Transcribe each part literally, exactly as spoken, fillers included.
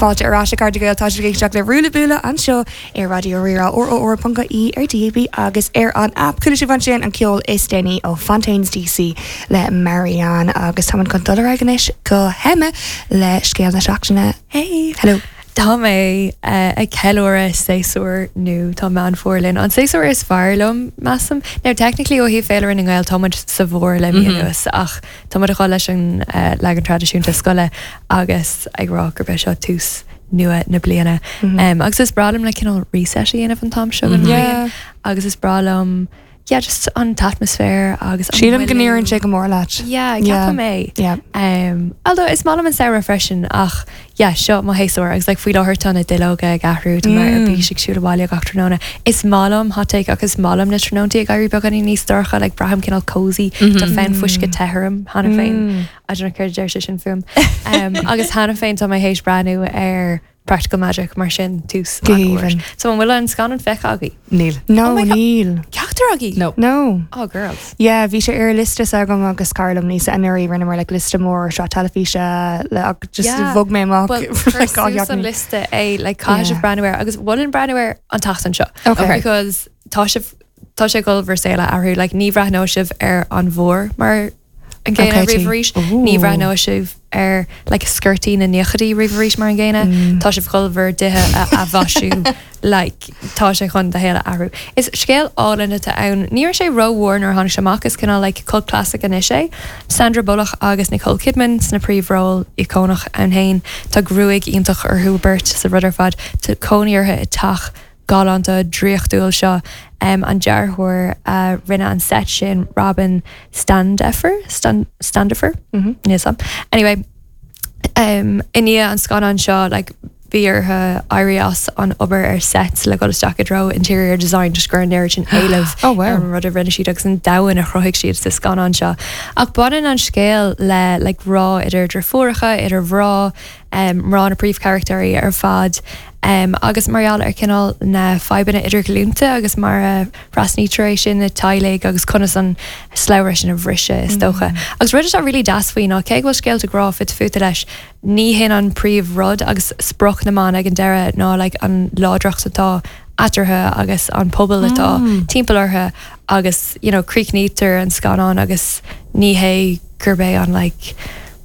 Fáilte ar ais, a chairde Gael. Tá sibh ag éisteacht le Rúla Búla anseo ar Raidió Rí-Rá R R R ponc I E ar D A B agus ar an app. Chuala sibh ansin an ceol is déanaí ó Fontaines D C le Marianne agus tá chun dul anois go hEmma le scéal na seachtaine. Hey. Hello. Tá mé uh, ag ceiliúradh séasúr nó tá Meán Fómhair linn. An séasúr is fearr liom, measaim. Now technically ó thaobh féilire na nGael táimid sa bhfómhar le mí anuas ach tá a chá leis an uh, leagan traidisiúnta scoile agus ag rá gur be seo tús nua na bliana. Mm -hmm. um, agus is breá liom le cineál reset a dhéanamh an t-am seo den Yeah. bhliain. Agus is breá liom, yeah, just an t-atmaisféar agus an Sílim go bhfuil- n-oireann sé go mór leat. Yeah, Yeah. ceapaim é. Yeah. Um, although is maith liom an samhradh freisin ach yeah, seo mo shéasúr agus like, faoi láthair tá na duilleoga ag athrú tá mé ar Mm. bís ag siúl abhaile gach tráthnóna. Is maith liom, hot take, agus is maith liom na tráthnóntaí ag éirí beagáinín níos dorcha, like braithim cineál cozy. Tá fonn fuisce te orm cheana féin. Mm. I don't know céard a deir sé sin fúm. Um, agus cheana féin tá mé théis breathnú ar Practical Magic, mar sin tús Go an fhómhair. haoibhinn. So an bhfuil an scannán feicthe agaibh? Níl. No, Oh my God. níl. Ceachtar agaibh? No. No. Oh, girls. Yeah, bhí sé ar liosta agam agus cara liom níos anuraidh rinneamar like liosta mór seo teilifíse le ach just Yeah. bhog mé amach Well, like, suas an liosta é like caithfidh Yeah. sibh breathnú air agus bhfuil breathnú air an tseachtain seo. Okay. Because tá sibh tá sé ag bhur saol a athrú, like ní bhreathnóidh sibh ar an bhfómhar mar an gcéanna Okay, riamh tí. arís, Ooh. ní bhreathnóidh sibh ar like sciortaí na nóchaidí riamh arís mar an gcéanna, Mm. tá sibh chun bhur dtithe a athmhaisiú, like tá sé chun do shaol a athrú. Is scéal álainn atá ann, ní raibh sé rómhór nuair a tháinig sé amach, is cineál like cult classic anois é. Sandra Bullock agus Nicole Kidman sna príomhról íocónach ann féin. Tá gruaig iontach orthu beirt sa rud ar fad. Tá cónaí orthu i teach galánta draíochtúil seo. Um, an dearthóir uh, rinne an set sin, Robin Standefer Stan Standifer Mhm. Níl am. Anyway, um, i ndiaidh an scannán seo, like, bhí orthu éirí as an obair ar set le dul isteach i dtreo interior design just gur an sin éileamh Oh, wow. ar an rud a rinne siad agus an domhan a chruthaigh siad sa scannán seo. Ach baineann an scéal le like, grá idir deirfiúracha, idir mná, um, mná na príomhcharachtair ar fad. Um, agus mar gheall ar cineál na fadhbanna idirghlúinte agus mar a thrasnaítear é sin na teaghlaigh agus conas an slabhra sin a bhriseadh, is dócha. Agus rud atá really deas faoi ná cé go bhfuil scéalta grá fite fuaite leis, ní hin an príomhrud agus sprioc na mban ag an deireadh ná like, an láidreacht atá eatarthu agus an pobal atá mm. timpeall orthu agus you know, críochnaítear an scannán agus ní hé gurb é an like,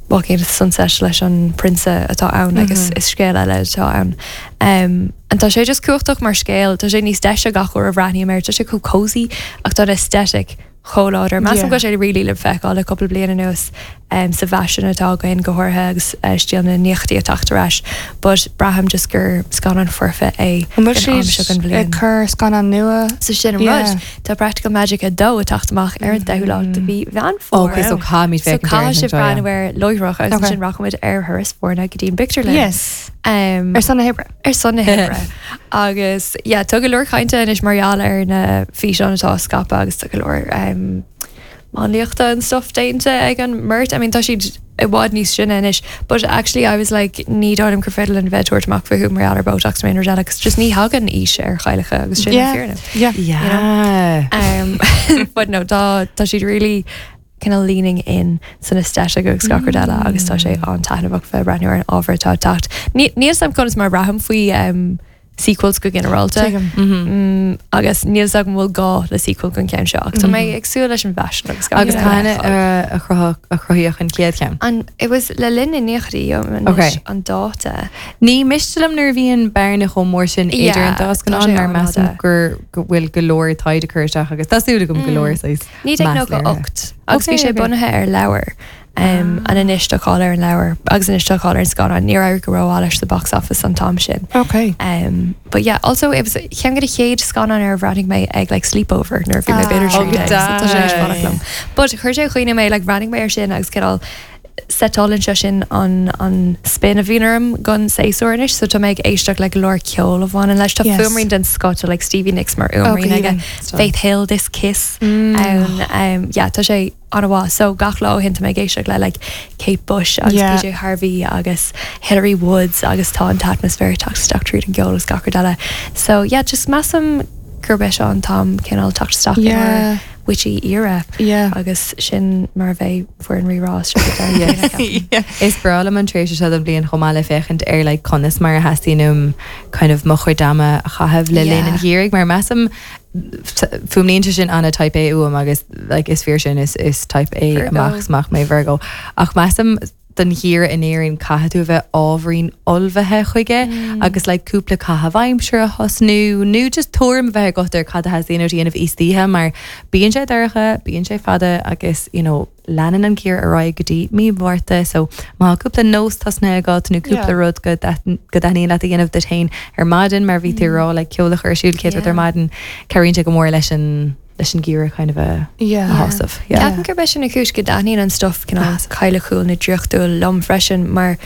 Walking into the Sunset leis an prionsa atá ann agus is scéal eile atá ann. Um, and tá sé just cumhachtach mar scéal, tá sé níos deise gach uair a bhreathnaím air, tá sé chomh cozy ach tá aesthetic chomh láidir. Measaim Yeah. go sé really le feiceáil le cúpla bliain anuas um, sa bhfaisean atá againn go háirithe agus uh, stíl na nóchaidí ag teacht ar ais, but braithim just gur scannán foirfe é An bhfuil don am seo den siad bhliain. ag cur scannán nua? So sin an Yeah. rud. Tá Practical Magic a dó ag teacht amach ar an deichiú lá de mhí Mheán Fómhair. Okay, so caithfimid So féachaint caithfidh sibh air breathnú air láithreach agus Okay. sin rachaimid ar thuras foirne go dtí an bpictiúrlann. Yes. Um, Ar son na hoibre. ar son na hoibre. Agus yeah, tá go leor cainte anois mar gheall ar na físeáin atá scaipthe agus tá go leor um, máinliachta and stuff déanta ag an mbeirt. I mean, tá siad i bhfad níos sine anois, but actually I was like ní dóigh liom gur féidir linn bheith tabhairt amach fúthu mar gheall ar Botox nó rud eile, 'cause just ní thagann aois ar chailleacha agus sin Yeah. an fhírinne. Yeah. Yeah. Um, but no, tá tá siad really kind of leaning in san aesthetic agus gach rud eile agus tá sé an-taitneamhach bheith breathnú ar an ábhar atá ag teacht. Ní níl a fhios agam conas mar braithim faoi um, sequels go ginearálta. Tuigim. Mm, agus níl a fhios agam bhfuil gá le sequel don ceann seo. Ach tá mé ag súil leis an bhfaisean agus gach Agus rud cathain eile a fheiceáil. a chruthaíodh a chruthaíodh an chéad cheann. An it was le linn na nóchaidí Okay. an dáta. Ní miste liom nuair a bhíonn bearna chomh mór sin idir Yeah, an dá tá scannán sé mar measaim an-fhada. gur go bhfuil go leor taighde curtha isteach agus tá súil agam go leor saghas Ní meas nó léirithe. ocht agus bhí Okay, sé okay. bunaithe ar leabhar. Um, an anois tá cáil ar an leabhar agus anois tá cáil ar an scannán níor éirigh go rómhaith leis the box office an t-am sin. Okay. Um, but yeah, also it was ceann de na chéad scannán ar bhreathnaigh mé ag like sleepover nuair bhí mé Ah. b'fhéidir Oh, trí go déag, so tá sé deas. fánach liom. But chuir sé chuoine mé like bhreathnaigh mé ar sin agus cineál setálann sé sin an an spin a bhíonn orm don séasúr anois, so tá mé ag éisteacht le go leor ceol a bhaineann leis. Tá Yes. fuaimrian den scoth like Stevie Nicks mar Oh, go fhuaimrian aige. haoibhinn. Faith Hill, This Kiss Mm. um, um, yeah, tá sé an-mhaith so gach lá ó shin tá mé ag éisteacht le like Kate Bush agus Yeah. P J Harvey agus Hillary Woods agus tá an t-atmaisféar teacht isteach tríd an gceol agus gach rud eile. So yeah, just measaim gurb é seo an t-am cineál teacht isteach Yeah. witchy era Yeah. agus sin mar bheidh foireann Rí-Rá Yes. Is breá liom an tréimhse seo den bhliain chomh maith le féachaint ar like conas mar a theastaíonn uaim kind of mo chuid ama a chaitheamh le linn Yeah. an gheimhridh mar measaim fuaimníonn sé sin ana type A uaim agus like, is fíor sin is, is type A Virgo. amach amach mé Virgo ach measaim don gheimhreadh in Éirinn caithfidh tú bheith ábhairín ullmhaithe chuige mm. agus like cúpla caitheamh aimsire a thosnú nó just tuairim bheith agat ar cad a theastaíonn uait a dhéanamh istoíche mar bíonn sé dorcha, bíonn sé fada agus you know, leanann an geimhreadh ar aghaidh go dtí mí Mhárta so má cúpla nós tosnaithe agat nó cúpla Yeah. rud go go dtaitníonn leat a dhéanamh duit féin ar maidin mar bhí tú rá le ceol a chur ar siúl céad Yeah. ar maidin cabhraíonn sé go mór leis an leis an geimhreadh kind of a Yeah. a shásamh. Yeah. Ceapaim gur b'shin an chúis go dtaitníonn an stuff cineál cailleachúil nó draíochtúil liom freisin mar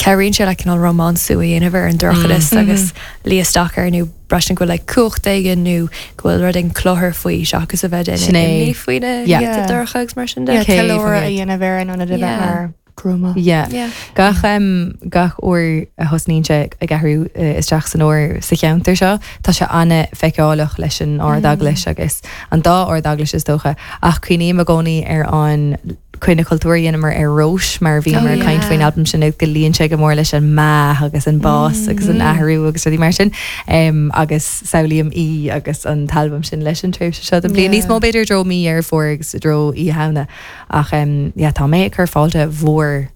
cabhraíonn sé le cineál rómánsú a dhéanamh ar an dorchadas agus luí isteach ar nó braithim go bhfuil like cumhacht éigin nó go bhfuil rud éigin cluthar faoi seachas a bheith Sin é. imní faoi na Yeah. Yeah. dorcha agus mar sin de. Yeah, Céad ceiliúradh a faoin dhéanamh ar an ionad a bheith Yeah. mar gruama. Yeah. Yeah. Gach um, gach uair a thosnaíonn sé ag athrú uh, isteach san fhómhar sa cheantar seo, Tá sé an-fheiceálach leis an ardeaglais agus an dá ardeaglais is dócha ach cuimhním i gcónaí ar an cuine cultúr dhéanamar ar Róis mar bhí Oh, mar yeah. caint faoin album sin go luíonn sé go mór leis an meath agus an bás agus an athrú agus rudaí mar sin um, agus samhlaím í agus an t-albam sin leis an tréimhse seo den bhliain Yeah. níos mó b'fhéidir dro mí ar fór agus dro í hena ach um, yeah, tá mé ag cur fáilte mhór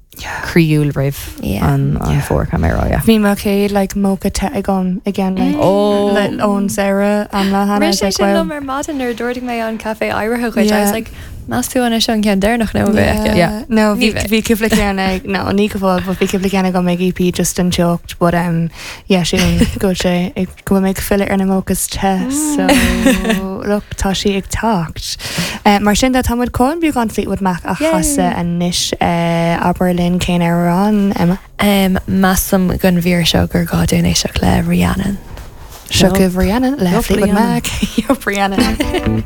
croíúil roimh Yeah. an an fómhar camera yeah. Bhí mo chéad like mocha te agam again like Oh. le ón Sarah an le Rinne sé sin liom ar maidin nuair a d'ordaigh mé an caife áirithe chuid. I was Yeah. like Meas tú an é an ceann deireanach nó bheith Yeah. No, Ní bhí bheidh. bhí cúpla ceann ag no ní go bhfuil, but bhí cúpla ceann agam ag EP just an teocht, but um yeah sin go sé ag go bhfuil mé ag filleadh ar na mochas te so look tá sí ag teacht. Uh, mar sin de táimid chun beagán Fleetwood Mac a Yay. chasadh anois uh, abair linn cén amhrán Emma. Um, Measaim don mhír seo gur gá dúinn éisteacht le Rhiannon. Seo chugaibh Rhiannon le Yup, Fleetwood Rhiannon. Mac. Yup, Rhiannon.